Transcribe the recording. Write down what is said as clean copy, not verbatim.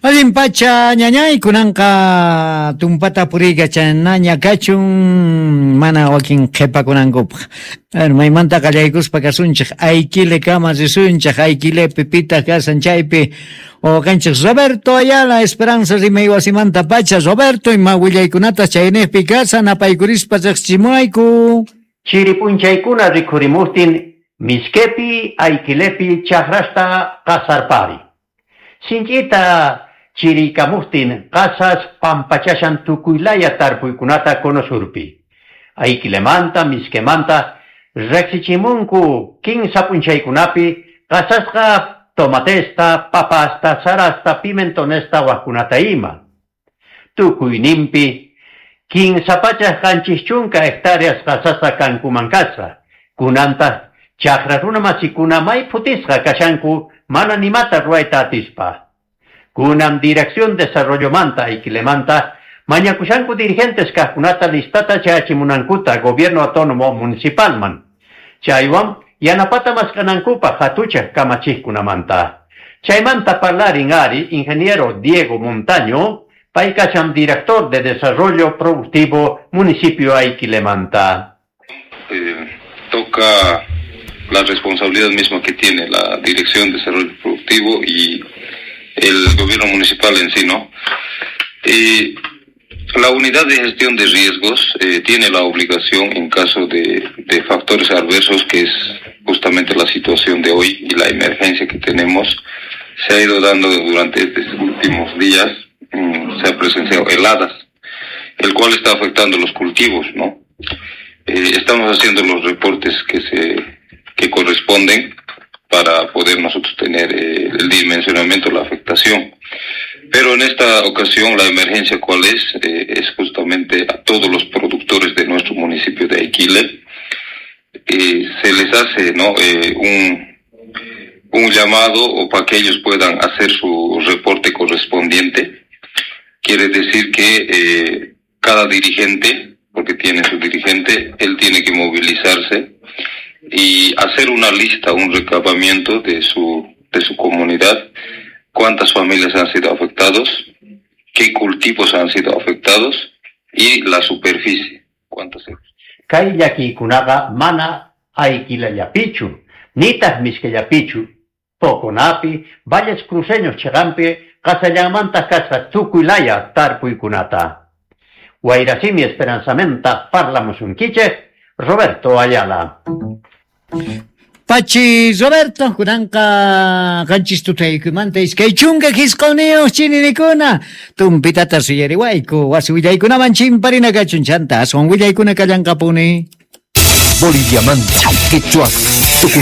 Allin pacha ñañay, kunanqa tumpata puriykachanaña kachun mana wakin qhepakunankupaq. Bueno, maymanta qallaykuspa kasunchej, Ayquilekama risunchej, Ayquilepi pitaq kasan chaypi wawqenchej Roberto Ayala, Esperanza rimay wasimanta pacha. Roberto, ima willaykunatas chaynejpi kasan, apaykurispa riqsichimuwayku. Chiri p'unchaykuna rikhurimujtin Mishkepi, Ayquilepi chajrasta qasarpari. Sinch'ita chiriykamujtin qasas pampachashan tukuylaya tarpuykunata conosurpi. Ayquilemanta, Mishkemanta riqsichimunku kinsa p'unchaykunapi qasasqa tomatesta, papasta, sarasta, pimentonesta wajkunata ima. Tukuyninpi 370 hectáreas qasasqa kankuman kasqa. Kunantaq chaqra runa masikuna may phutisqa kashanku mana nimata ruwayta atispa. Kunan Dirección Desarrollomanta Ayquilemanta mañakushanku dirigentes kajkunata listata chayachimunankuta Gobierno Autónomo Municipalman. Chaywan yanapata mask'anankupaq hatuchaq kamachijkunamanta. Chaymanta parlarin ari ingeniero Diego Montaño, pay kashan director de Desarrollo Productivo Municipio Ayquilemanta. Toca la responsabilidad misma que tiene la Dirección de Desarrollo Productivo y el gobierno municipal en sí, ¿no? La unidad de gestión de riesgos tiene la obligación en caso de factores adversos, que es justamente la situación de hoy y la emergencia que tenemos, se ha ido dando durante estos últimos días, se ha presenciado heladas, el cual está afectando los cultivos, ¿no? Estamos haciendo los reportes que corresponden para poder nosotros tener el dimensionamiento de la afectación. Pero en esta ocasión la emergencia cuál es, es justamente a todos los productores de nuestro municipio de Aiquile. Se les hace, ¿no?, un llamado o para que ellos puedan hacer su reporte correspondiente. Quiere decir que cada dirigente, porque tiene su dirigente, él tiene que movilizarse y hacer una lista, un recabamiento de su comunidad, cuántas familias han sido afectados, qué cultivos han sido afectados y la superficie, cuántas. Kay llakiykunaqa mana Ayquilallapichu, nitaq Mishkellapichu, Poconapi, Valles Cruceños chiqanpi qasallanmantaq kasqa tukuylaya tarpuykunata. Wayrasimi Esperanzamanta parlamusunkichej Roberto Ayala. Pachi Roberto, kunanqa qanchis tutaykumanta 29 chininikuna tumpitata suyariwayku wasi willaykunaman chimparina kachun chanta aswan willaykuna kallanqapuni. Boliviamanta, quechua